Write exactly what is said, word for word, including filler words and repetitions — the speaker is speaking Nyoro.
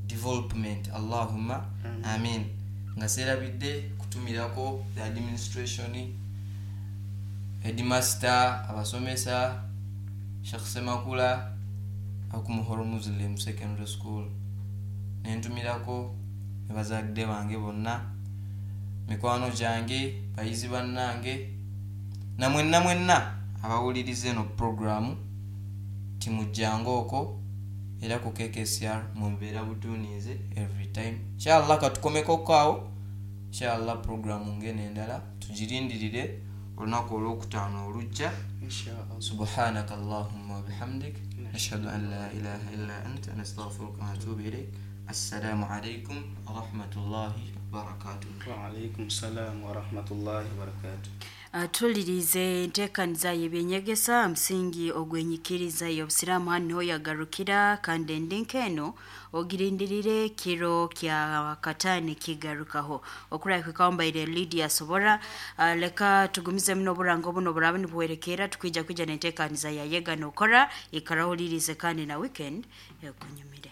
Development. Allahumma amin. Nga seerabidde kutumirako the administration, headmaster, abasomesa, Sheikh Semakula akumuhoro Muslim Secondary School, nentumirako ne bazadde bange bonna, mikwano gyange, bayizi bannange, namwenna mwenna abawuliriza eno programu. Timujjanga okwo era ku K K C R mumbeera butuunize every time. Inshallah katukomekoko awo. Inshallah programu ngeno endala tugirindirire olunaku olwokutaano olujja. Inshallah. Subhanaka allahumma wabihamdik, nashhadu an la ilaha illa anta, nastaghfiruka wa natubu ilaik. Assalamu alaikum warahmatullahi wabarakatuh. Waalaikum salam warahmatullahi wabarakatuh. Uh, tulirize enteekaniza y'ebyenyegesa, musingi ogw'enyikiriza y'obusiraamu. Hanu niho yagarukira, kandi endinka eno ogirindirire kiro kya kataani kigarukaho okurahika. Mbaire Lydia Sobora. uh, leka tugumizemu n'oburango buno burabe nibuwerekera, tukwija kwija n'enteekaniza ya Yega Nokora. Ikara ohulirize, kandi na weekend ekunyumire.